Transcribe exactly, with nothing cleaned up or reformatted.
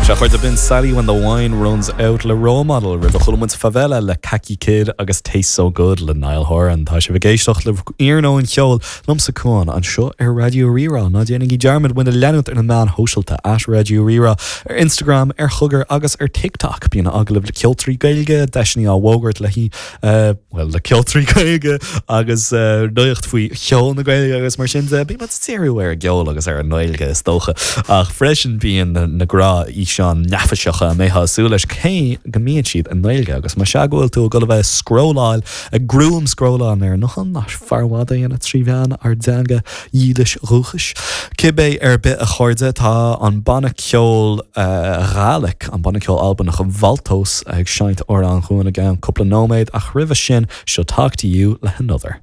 Sea a chairde b'in Sally when the wine runs out le Role Model roimhe chuala muid Favela le Kaki Kid agus Taste So Good le Niall Horan Tá sibh ag éisteacht le Iarnóin Cheoil liomsa Cuan anseo ar Raidió Rí-Rá ná déanaigí dearmad muid a leanúint ar na meáin shóisialta at Raidió Rí-Rá ar Instagram ar Chogar agus ar TikTok bíonn agallaimh le ceoltóirí Gaeilge deiseanna á bhfógairt le uh, well le ceoltóirí Gaeilge agus uh, nuacht faoi cheol na Gaeilge agus mar sin de bíonn díriú ar an gceol agus ar an nGaeilge is dócha ach freisin bíonn na gnáthfhíseáin neafaiseacha a mbeifeá ag súil leis cé go mbíonn siad i nGaeilge agus más ea go bhfuil tú ag dul a bheith scrolláil ag groom scrolláil ar nó nach fearr a dhéanamh trí mheán ár dteanga dhílis dhúchais. Cibé ar bith a chairde tá an banna ceoil uh, Ghaelach an banna ceoil Albanach Valtos ag seinnt amhrán chugainn i gceann cúpla nóiméad ach roimhe sin seo Talk to you le Another.